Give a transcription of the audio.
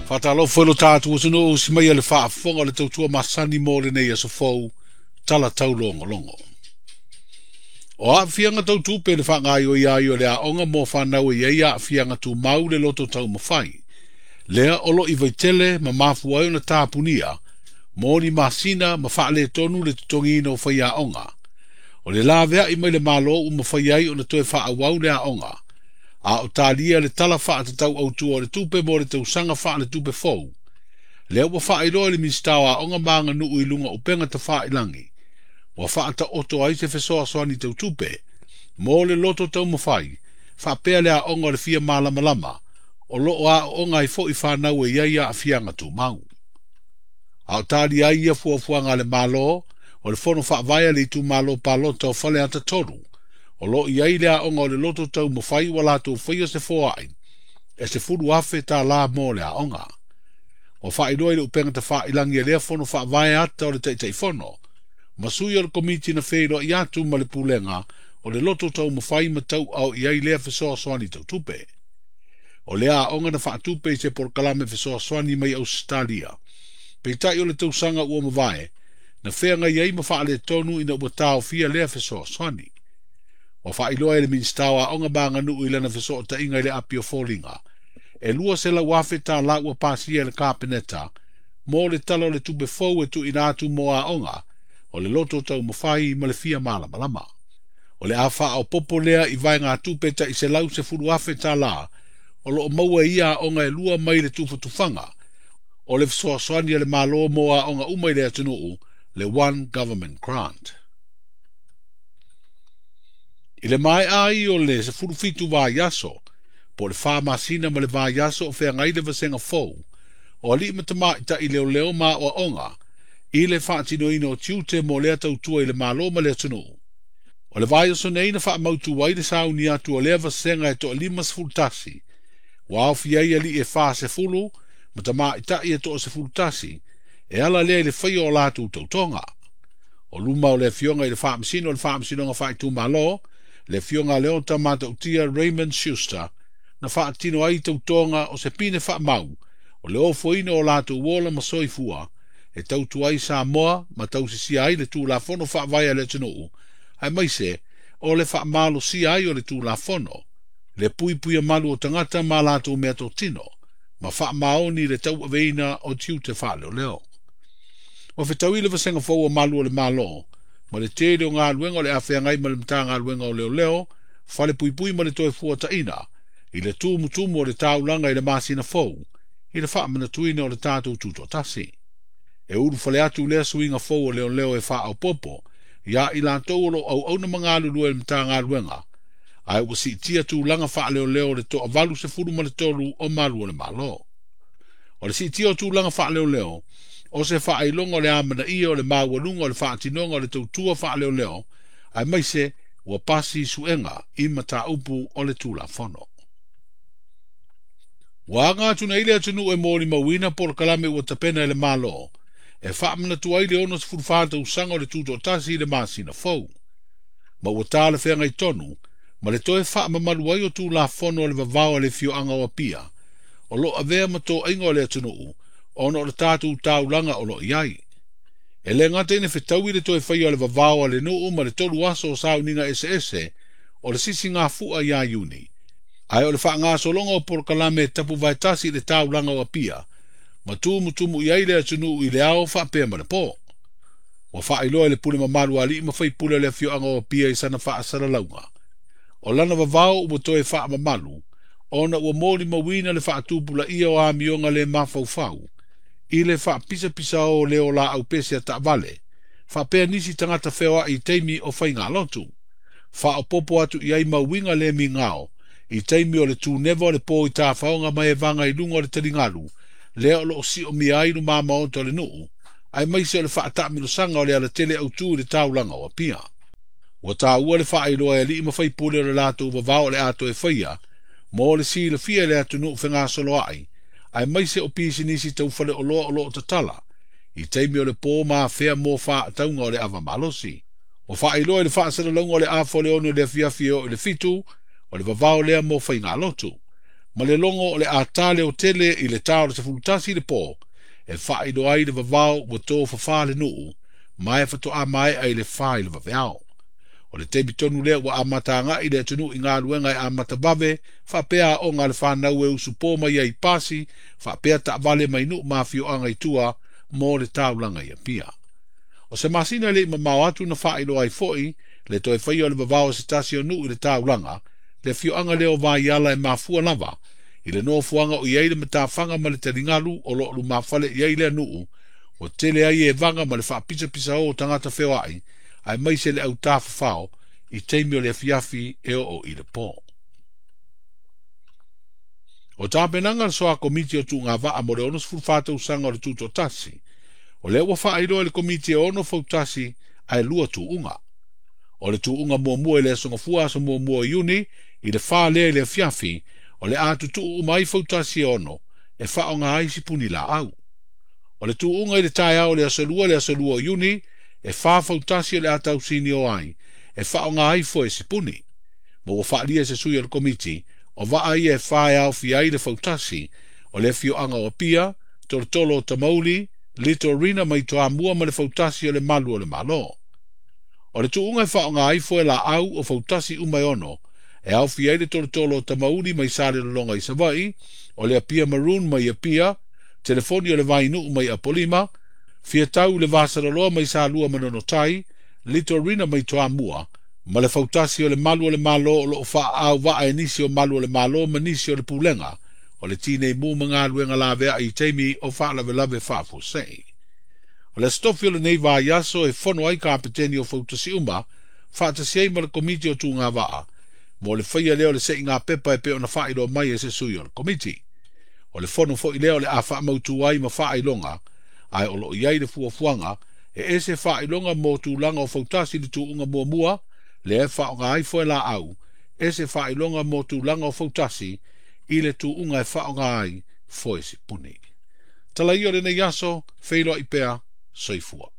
Faatalofa i lo tatou atunuu usi mai le faafofoga o le tautua masani mo lenei aso fou, tala taulogologo. O aafiaga tautupe le faagaoioi ai o le aoga mo fanau e i ai aafiaga tumau le loto taumafai. Lea o lo i vaitele ma mafua ai ona tapunia, mo ni masina ma faaletonu le totogiina o faiaoga. O le laveai mai le Malo ua mafai ai ona toe faaauau le aoga. A o talia le tala faatatau autu o le tupe mo le tausaga faaletupe fou. Lea ua faailoa i le Minisita o Aoga ma Aganuu i luga o upega tafailagi. Ua faataoto ai se fesoasoani tautupe mo le loto taumafai, faapea le aoga o le fia malamalama, o loo aooga ai foi fanau e i ai aafiaga tumau. A o talia ai ia fuafuaga a le Malo, o le fono faavae a le itumalo palota o Faleata 3, o lo i ai le aoga o le loto taumafai ua latou faia se foai, e $10,000 mo le aoga. Ua faailoa i le upega tafailagi e lea fono faavae ata o le Taitaifono, ma sui o le komiti na feiloai atu ma le pulega o le loto taumafai ma tauao i ai lea fesoasoani tautupe. O lea aoga na faatupe i se polokalame fesoasoani mai Ausetalia. Peitai o le tausaga ua mavae, na feagai ai ma faaletonu ina ua taofia lea fesoasoani. Ua faailoa e le Minisita o Aoga ma Aganuu i lana fesootaiga i le api o foliga. E $200,000 ua pasia e le Kapeneta mo le tala o le tupe fou e tuuina atu mo aoga o le loto taumafai ma le fia malamalama. O le a faaopopo lea i vaega tupe tai $110,000 o loo maua e ia aoga e lua mai le tufatufaga o le fesoasoani a le Malo mo aoga uma i le atunuu, le One Government Grant. I le maea ai o le 17 vaiaso, po le 4 masina ma le vaiaso o feagai le vasega fou, o alii ma tamaitai leoleo ma aoaoga, i le faatinoina o tiute mo lea tautua i le Malo ma le atunuu. O le vaiaso nei na faamautu ai le sauni atu o lea vasega e toa 51, ua aofia ai alii e 40 ma tamaitai e toa 11, e ala lea i le faia o latou tautoga. O luma o le afioga i le faamasino o le faamasinoga faaitumalo, le afioga Leota Matautia Raymond Schuster, na faatino ai tautoga o se pine faamau, o le ofoina o latou ola ma soifua, e tautua ai Samoa ma tausisia ai le Tulafono faavae a le atunuu, aemaise o le faamalosia ai o le Tulafono, le puipuia malu o tagata ma latou meatotino, ma faamaoni le tauaveina o tiute faaleoleo. Ua fetaui le vasega fou o malu o le Malo, ma le tele o galuega o le afeagai ma le Matagaluega o Leoleo, fale puipui ma le toe fuataina, i le tumutumu o le taulaga i le masina fou, i le faamanatuina o le tatou tutoatasi. E ulufale atu lea suiga fou o leoleo e faaopopo, ia i latou o lo o auauna ma galulue i le Matagaluega, ae ua siitia tulaga faaleoleo o le toa 83 o malu o le Malo. O le siitia o tulaga faaleoleo, o se faailoga o le amanaia o le maualuga o le faatinoga o le tautua faaleoleo, aemaise ua pasi suega i mataupu o le Tulafono. Ua aga atu nei le atunuu e molimauina polokalame ua tapena e le Malo, e faamanatu ai le 64 tausaga o le tutoatasi i le masina fou. Ma ua talafeagai tonu, ma le toe faamamalu ai o Tulafono o le vavao a le afioaga o Apia, o lo avea ma toaiga o le atunuu, ona o le tatou taulaga o lo i ai. E le gata ina fetaui le toe faia o le vavao a le nuu ma le 3 aso o sauniga eseese o le sisigafua ia Iuni. Ae o le faagasologa o polokalame e tapu vaetasi i le taulaga o Apia, ma tumutumu i ai le atunuu i le ao faapea ma le po. Ua faailoa e le pule mamalu a alii ma faipule o le afioaga o Apia i sana faasalalauga. O lana vavao ua toe faamamalu, ona ua molimauina le faatupulaia o amioga le mafaufau, i le faapisapisa o leo laau pese a taavale, faapea nisi tagata feoai i taimi o faigalotu. Faaopopo atu i ai mauiga le migao, i taimi o le tuneva o le po i tafaoga ma e vaga i luga o le taligalu, lea o loo siomia ai luma maota o le nuu, aemaise o le faataamilosaga o le alatele autu i le taulaga o Apia. Ua taua le faailoa e alii ma faipule o le latou vavao o le a toe faia, mo le silafia i le atunuu fegasoloai, aemaise o pisinisi taufaleoloa o loo tatala, i taimi o le po ma afea mo faatauga o le ava malosi. Ua faailoa i le faasalalauga o le afa o le 6 i le afiafi e oo i le 7, o le vavao lea mo faigalotu. ma le logo o le a tā leotele i le tā o le 11 i le pō, e faailoa ai le vavao ua tofafā le nuu, ma e faatoa maea i le 4 i le vaveao. O le taimi tonu lea ua amata agai le atunuu i galuega e amata vave, faapea aoga a le fanau e usupo mai ai i pasi, faapea taavale mai nuu ma afioaga i tua mo le taulaga i Apia. O se masina e le i mamao atu na faailoa ai foi le toe faia o le vavao o se tasi o nuu i le taulaga, le afioaga lea o Vaiala e mafua lava i le nofoaga o i ai le matafaga ma le taligalu o loo lumafale i ai lea nuu, ua tele ai evaga ma le faapisapisao o tagata feoai, aemaise le autafafao i taimi o le afiafi e oo i le pō. O tapenaga a le Soa Komiti o Tuugavaa mo le 64 tausaga o le Tutoatasi, o lea ua faailoa e le Komiti e 6 fautasi ae 2 tuuga. O le tuuga muamua i le aso Gafua aso 1 o Iuni i le 4 lea i le afiafi, o le a tutuu uma ai fautasi e 6 e faaaoga ai sipuni laau. O le tuuga i le taeao o le aso 2 le aso 2 o Iuni, e 4 fautasi o le a tausini o ai, e faaaoga ai foe sipuni. Ma ua faalia se sui o le komiti, o vaa ia e 4 e aofia ai le fautasi, o le afioaga o Apia, Tolotolo o Tamauli, Litorina mai Toamua ma le fautasi o le Malu o le Malo. O le tuuga e faaaoga ai foe laau o fautasi uma e 6, e aofia ai le Tolotolo o Tamauli mai Salelologa i Savaii, o le Apia Maroon mai Apia, telefoni o le Vainuu mai Apolima, Fiatau le Vasaloloa mai Salua ma Nonotai, Litorina mai Toamua, ma le fautasi o le Malu o le Malo o loo faaau vaa e nisi o Malu o le Malo ma nisi o le Pulega, o le tinei mu ma galuega laveai i taimi o faalavelave faafuasei. O le aso tofi o lenei vaiaso e fono ai kapeteni o fautasi uma, faatasi ai ma le komiti o Tuugavaa, mo le faia lea o le seiga pepa e pei ona faailoa mai e se sui o le komiti. O le fono foi lea o le a faamautu ai ma faailoga, ae o loo i ai le fuafuaga e ese faailoga mo tulaga o fautasi i le tuuga muamua, lea e faaaoga ai foe laau, ese faailoga mo tulaga o fautasi i le tuuga e faaaoga ai foe sipuni. Tala ia o lenei aso, feiloai pea, soifua.